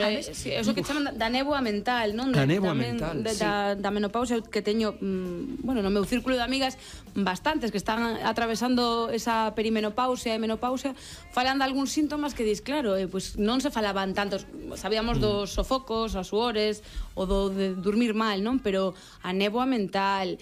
Eso que chaman da néboa mental, non? Da néboa mental, sí. Da menopausia, que teño, bueno, no meu círculo de amigas bastantes que están atravesando esa perimenopausia e menopausia, falan de algúns síntomas que dis, claro, pois non se falaban tantos, sabíamos dos sofocos, as suores, o do de dormir mal, non? Pero a néboa mental,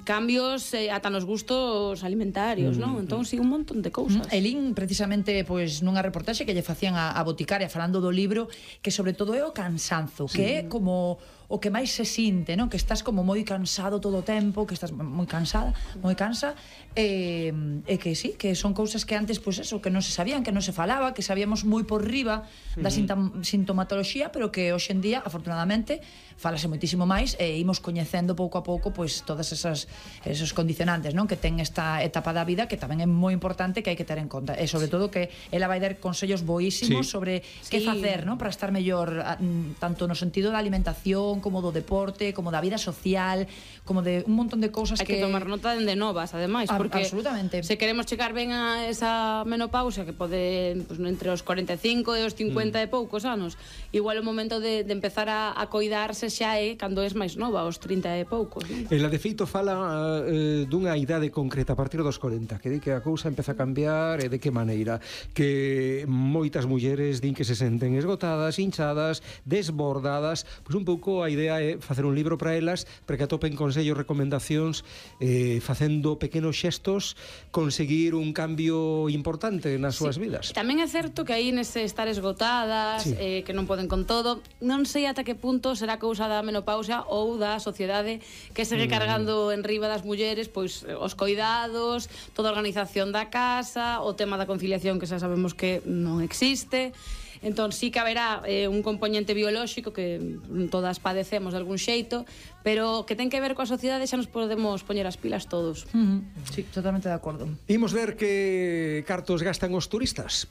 cambios ata nos gustos alimentarios, non? Entón, sí, un montón de cousas. Elín, precisamente, pois, nunha reportaxe que lle facían a boticaria falando do libro, que sobre todo é o cansanzo, que é como o que máis se sinte, non? Que estás como moi cansado todo o tempo, que estás moi cansada, moi cansa, e que sí, que son cousas que antes, pois eso, que non se sabían, que non se falaba, que sabíamos moi por riba da sintomatoloxía, pero que hoxe en día, afortunadamente, falase moitísimo máis e imos coñecendo pouco a pouco pois todas esos condicionantes, non? Que ten esta etapa da vida que tamén é moi importante, que hai que ter en conta. E sobre todo que ela vai dar consellos boísimos sobre que facer, non? Para estar mellor, tanto no sentido da alimentación, como do deporte, como da vida social, como de un montón de cousas que... Hai que tomar nota dende novas, ademais, porque absolutamente. Se queremos chegar ben a esa menopausia, que pode, pues, entre os 45 e os 50 e poucos anos, igual o momento de empezar a coidarse xa é cando és máis nova, aos 30 e poucos, non? Ela, de feito, fala dunha idade concreta a partir dos 40, que di que a cousa empeza a cambiar, e de que maneira, que moitas mulleres din que se senten esgotadas, hinchadas, desbordadas, pois un pouco a idea é facer un libro para elas, para que atopen consellos, recomendacións, facendo pequenos xestos, conseguir un cambio importante nas súas vidas. Tamén é certo que aí nese estar esgotadas, que non poden con todo, non sei ata que punto será cousa da menopausia ou da sociedade que segue cargando en riba das mulleres, pois os coidados, toda a organización da casa, o tema da conciliación que xa sabemos que non existe. Entón, sí que haberá un componente biolóxico que todas padecemos de algún xeito, pero que ten que ver coa sociedade, xa nos podemos poñer as pilas todos. Sí, totalmente de acordo. Imos ver que cartos gastan os turistas.